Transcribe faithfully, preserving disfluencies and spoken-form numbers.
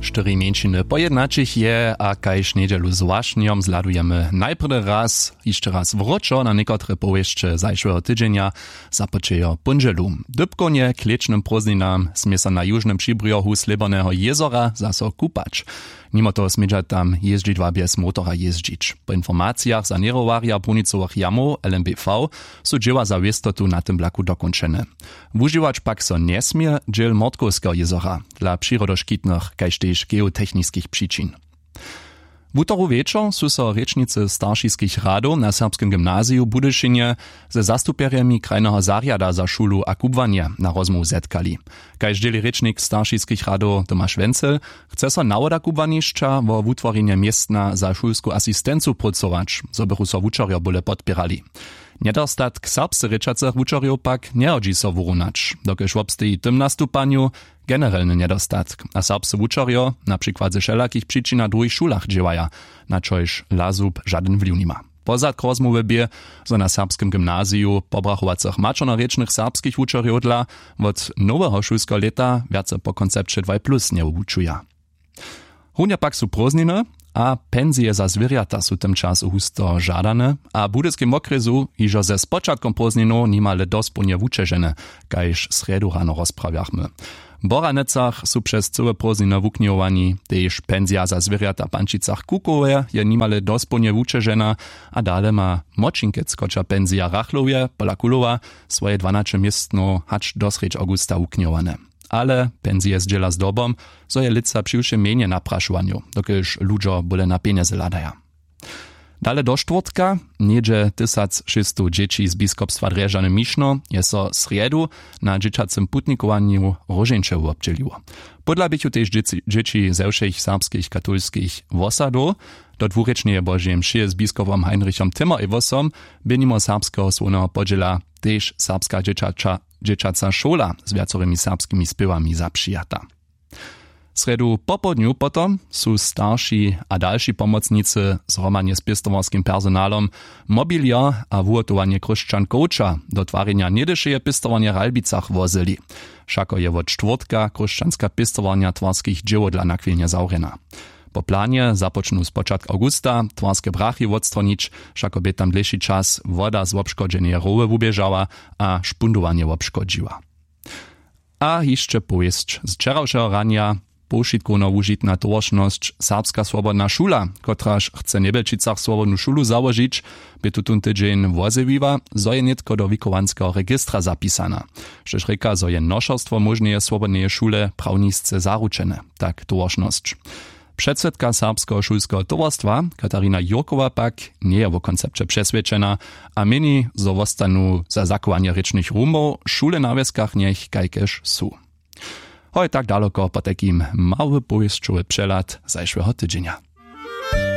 Štyri mjeńšiny pojednaćich je a kaž njedźelu z wašnjom zhladujemy najprjedy raz hišće raz wróćo na někotre powěsće zašłeho tydźenja. Započejo póndźelu w dypkownje k lěćnym prózdninam smě so na južnym přibrjohu slěborneho jězora zaso kupać. Nimo toho smědźa tam jězdźidła bjez motora jězdźić. Po informacijach saněrowarja brunicowych jamow lmbv su dźěła za wěstotu na tym blaku dokónčene. Wužiwać pak so njesmě dźěl mortkowskeho jězora dla přirodoškitnych kaž tež geotechniskich přičin. Wutoru wječor su so rěčnicy staršiskich radow na serbskim gymnaziju w budyšinje ze zastupjerjemi krajneho zarjada za šulu a kubłanje na rozmołwu zetkali. Kaž dźěli rěčnik staršiskich radow tomaš wenzel, chce so nawoda kubłanišća wo wutworjenje městna za šulsku asistencu prócować, zo bychu so wučerjo bóle podpěrali. Njedostatk serbsce rěčacych wučerjow pak njehodźi so wurunać, dokelž wobsteji w tym nastupanju generelny njedostatk a serbscy wučerjo na přikład ze wšelakich přičinach w druhich šulach dźěłaja, na čož lasub žadyn wliw nima. Pozadk rozmołwy bě, zo na serbskim gymnaziju pobrachowacych maćernorěčnych serbskich wučerjow dla wot noweho šulskeho lěta wjace po koncepće dwaj plus njewučuja. Runje pak su prózdniny a pensije za zwěrjata su w tym času husto žadane a w budyskej wokrjesu hižo ze spočatkom prózdninow nimale dospołnje wućežene, kaž srjedu rano rozprawjachmy. W boranecach su přez cyłe prózdniny wuknihowani. Tež pensija za zwěrjata w pančicach kukowje je nimale dospołnje wućežena a dale ma młočinkec koča pensija rachlowje pola kulowa swoje dwanaće městnow hač do srjedź awgusta wuknihowane. Ale pensije zdźěla zdobom, zo je lětsa přiwšěm mjenje na prašowanju, dokelž ludźo bóle na pjenjezy hladaja. Dale do štwórtka něhdźe tysacšěsćstow dźěći z biskopstwa drježdźany mišno je so srjedu na dźěćacym putnikowanju róžeńće wobdźěliło. Pódla běchu tež dźěći ze wšěch serbskich katolskich wosadow. Do dwurěčneje božeje mšeje z biskopom heinrichom timmer ewosom bě nimo serbskeho słowneho podźěla tež serbska dźěćaća dźěćaca šola z wjacorymi serbskimi spěwami zapřijata. Srjedu popołdnju potom su starši a dalši pomocnicy zhromadnje z pěstowarskim personalom mobilier a wuhotowanje chróšćan coacha do twarjenja něhdyšeje pěstowarnje w ralbicach wozyli. Wšako je wot štwórtka chróšćanska pěstowarnja twarskich dźěłow dla nakwilnje zawrjena. Po planje započnu spočatk awgusta twarske brachy wotstwonić. Wšako bě tam dlěši čas woda z wobškodźeneje roły wuběžała a špundowanje wobškodźiła. A hišće powěsć z wčerawšeho ranja. Powšitkowno wužitna towaršnosć serbska swobodna šula, kotraž chce w njebjelčicach swobodnu šulu załožić, bě tutón tydźeń wozjewiła, zo je nětko do wikowanskeho registra zapisana, štož rěka zo je nošerstwo móžneje swobodneje šule prawnisce zaručene, tak towaršnosć. Předsydka serbskeho šulskeho towarstwa katarina jurkowa pak njeje wo koncepće přeswědčena a měni zo wostanu za zachowanje rěčnych rumow šule na wjeskach njech kajkež su. Hoj tak daloko potajkim mały powěsćowy přehlad zašłeho tydźenja.